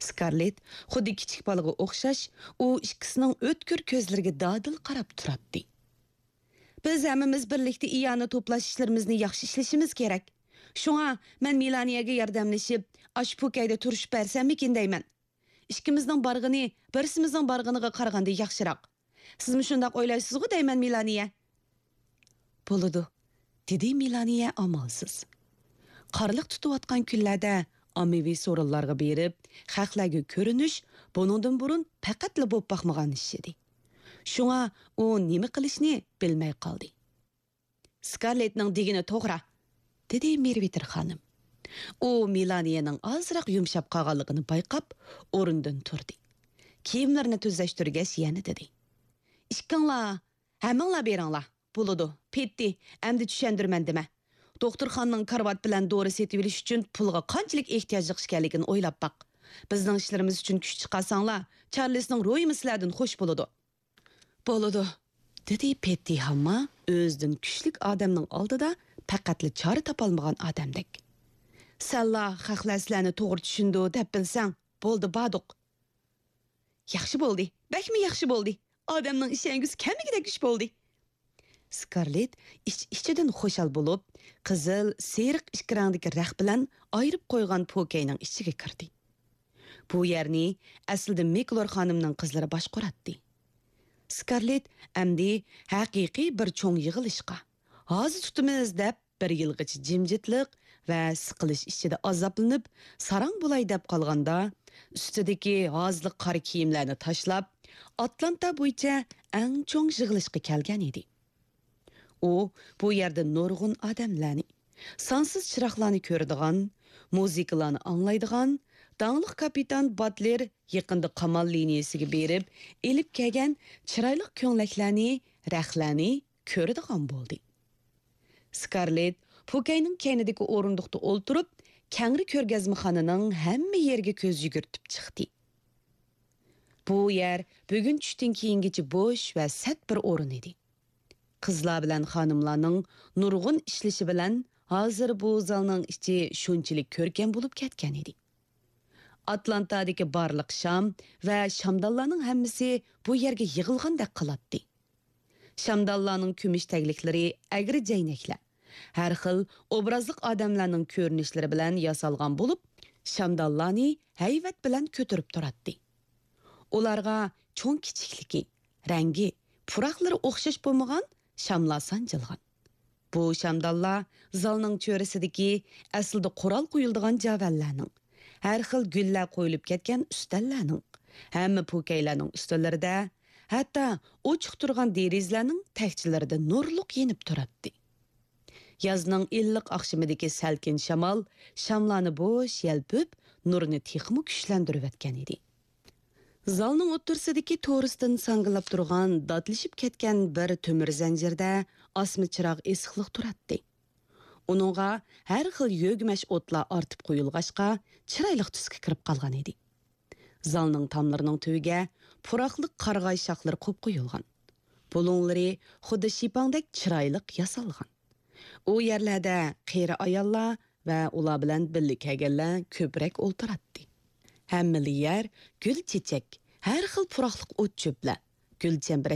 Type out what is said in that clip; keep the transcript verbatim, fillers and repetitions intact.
سكارلېت خۇددى كىچىك بالىغا ئوخشاش، ئۇ ئىككىسىنىڭ ئۆتكۈر كۆزلىرىگە دادىل قاراپ تۇراتتى. بىز ھەممىمىز بىرلىكتە ئىئانە توپلاش ئىشلىرىمىزنى ياخشى ئىشلىشىمىز كېرەك. شۇڭا مەن مېلانىيەگە ياردەملىشىپ، ئاشۇ پوكەيدە تۇرۇشۇپ بەرسەممىكىن دەيمەن. ئىككىمىزنىڭ بارغىنى بىرسىمىزنىڭ بارغىنىغا قارىغاندا ياخشىراق. سىزمۇ شۇنداق ئويلايسىزغۇ دەيمەن، مېلانىيە؟ بولىدۇ، دېدى مېلانىيە ئامالسىز. قارلىق تۇتۇۋاتقان كۈنلەردە ئاممىۋى سورۇنلارغا بېرىپ، خەقلەرگە كۆرۈنۈش بۇنىڭدىن بۇرۇن پەقەتلا بولۇپ باقمىغان ئىش ئىدى. شۇڭا ئۇ نېمە قىلىشنى بىلمەي قالدى. سكارلېتنىڭ دېگىنى توغرا، دېدى مېرۋىتېر خانىم. ئۇ مېلانىيەنىڭ ئازراق يۇمشاپ قالغانلىقىنى بايقاپ، ئورنىدىن تۇردى. كىيىملىرىنى تۈزەشتۈرگەچ يەنە دېدى. ئىككىڭلار، ھەممىڭلار بېرىڭلار. بولىدۇ، پېتتى، ئەمدى چۈشەندۈرىمەن دېمە. دوختۇرخانىنىڭ كارىۋات بىلەن دورا سېتىۋېلىش ئۈچۈن پۇلغا قانچىلىك ئېھتىياجلىق ئىكەنلىكىنى ئويلاپ باق. بىزنىڭ ئىشلىرىمىز ئۈچۈن كۈچ چىقارساڭلار، چارلىسنىڭ رويىمۇ سىلەردىن خوش بولىدۇ. بولىدۇ، دېدى پېتتى ھامما ئۆزىدىن كۈچلۈك ئادەمنىڭ ئالدىدا پەقەتلا چارە تاپالمىغان ئادەمدەك. سەنلا خەقلەر سىلەرنى توغرا چۈشىنىدۇ دەپ بىلسەڭ، بولدى باردۇق. ياخشى بولدى، بەكمۇ ياخشى بولدى. ئادەمنىڭ ئىشەنگۈسى كەلمىگۈدەك ئىش بولدى. سكارلېت ئىچ-ئىچىدىن خۇشال بولۇپ، قىزىل، سېرىق ئىككى رەڭدىكى رەخ بىلەن ئايرىپ قويغان پوكەينىڭ ئىچىگە كىردى. بۇ يەرنى ئەسلىدە مىكلور خانىمنىڭ قىزلىرى باشقۇراتتى. سكارلېت ئەمدى ھەقىقىي بىر چوڭ يىغىلىشقا، ھازا تۇتىمىز دەپ بىر يىلغىچە جىمجىتلىق ۋە سىقىلىش ئىچىدە ئازابلىنىپ، ساراڭ بولاي دەپ قالغاندا، ئۈستىدىكى ھازىلىق قارا كىيىملەرنى تاشلاپ، ئاتلانتا بويىچە ئەڭ چوڭ يىغىلىشقا كەلگەن ئىدى. ئۇ بۇ يەردە نۇرغۇن ئادەملەرنى، سانسىز چىراغلارنى كۆرىدىغان، مۇزىكىلارنى ئاڭلايدىغان، داڭلىق كاپىتان باتلېر يېقىندا قامال لىنىيىسىگە بېرىپ ئېلىپ كەلگەن چىرايلىق كۆڭلەكلەرنى، رەخلەرنى كۆرىدىغان بولدى. سكارلېت پوكەينىڭ كەينىدىكى ئورۇندۇقتا ئولتۇرۇپ، كەڭرى كۆرگەزمىخانىنىڭ ھەممە يېرىگە كۆز يۈگۈرتۈپ چىقتى. بۇ يەر بۈگۈن چۈشتىن كېيىنگىچە بوش ۋە سەت بىر ئورۇن ئىدى. قىزلار بىلەن خانىملارنىڭ نۇرغۇن ئىشلىشى بىلەن ھازىر بۇ زالنىڭ ئىچى شۇنچىلىك كۆركەم بولۇپ كەتكەن ئىدى. ئاتلانتادىكى بارلىق شام ۋە شامدانلارنىڭ ھەممىسى بۇ يەرگە يىغىلغاندەك قىلاتتى. شامدانلارنىڭ كۈمۈش تەگلىكلىرى ئەگرى جەينەكلەر، ھەر خىل ئوبرازلىق ئادەملەرنىڭ كۆرۈنۈشلىرى بىلەن ياسالغان بولۇپ، شامدانلارنى ھەيۋەت بىلەن كۆتۈرۈپ تۇراتتى. ئۇلارغا چوڭ-كىچىكلىكى، رەڭگى، پۇراقلىرى ئوخشاش بولمىغان شاملار سانجىلغان. بۇ شامدانلار زالنىڭ چۆرىسىدىكى ئەسلىدە قورال قويۇلىدىغان جاۋەنلەرنىڭ، ھەر خىل گۈللەر قويۇلۇپ كەتكەن ئۈستەللەرنىڭ، ھەممە پوكەيلەرنىڭ ئۈستەللىرىدە، ھەتتا ئوچۇق تۇرغان دېرىزىلەرنىڭ تەكچىلىرىدە نۇرلۇق يېنىپ تۇراتتى. يازنىڭ ئىللىق ئاخشىمىدىكى سەلكىن شامال شاملارنى بوش يەلپۈپ، نۇرنى تېخىمۇ كۈچلەندۈرۈۋەتكەن ئىدى. زالنىڭ ئوتتۇرىسىدىكى تورۇستىن ساڭگىلاپ تۇرغان داتلىشىپ كەتكەن بىر تۆمۈر زەنجىردە ئاسما چىراغ ئېسىقلىق تۇراتتى. ئۇنىڭغا ھەر خىل يۆگىمەش ئوتلار ئارتىپ قويۇلغاچقا، چىرايلىق تۈسكە كىرىپ قالغان ئىدى. زالنىڭ تاملىرىنىڭ تۈۋىگە پۇراقلىق قارىغاي شاخلىرى قويۇپ قويۇلغان. بۇلۇڭلىرى خۇددى شىپاڭدەك چىرايلىق ياسالغان. ئۇ يەرلەردە قېرى ئاياللار ۋە ئۇلار بىلەن بىللە كەلگەنلەر كۆپرەك ئولتۇراتتى. ھەممىلا يەر گۈل-چېچەك، ھەر خىل پۇراقلىق ئوت-چۆپلەر، گۈلچەمبىرەك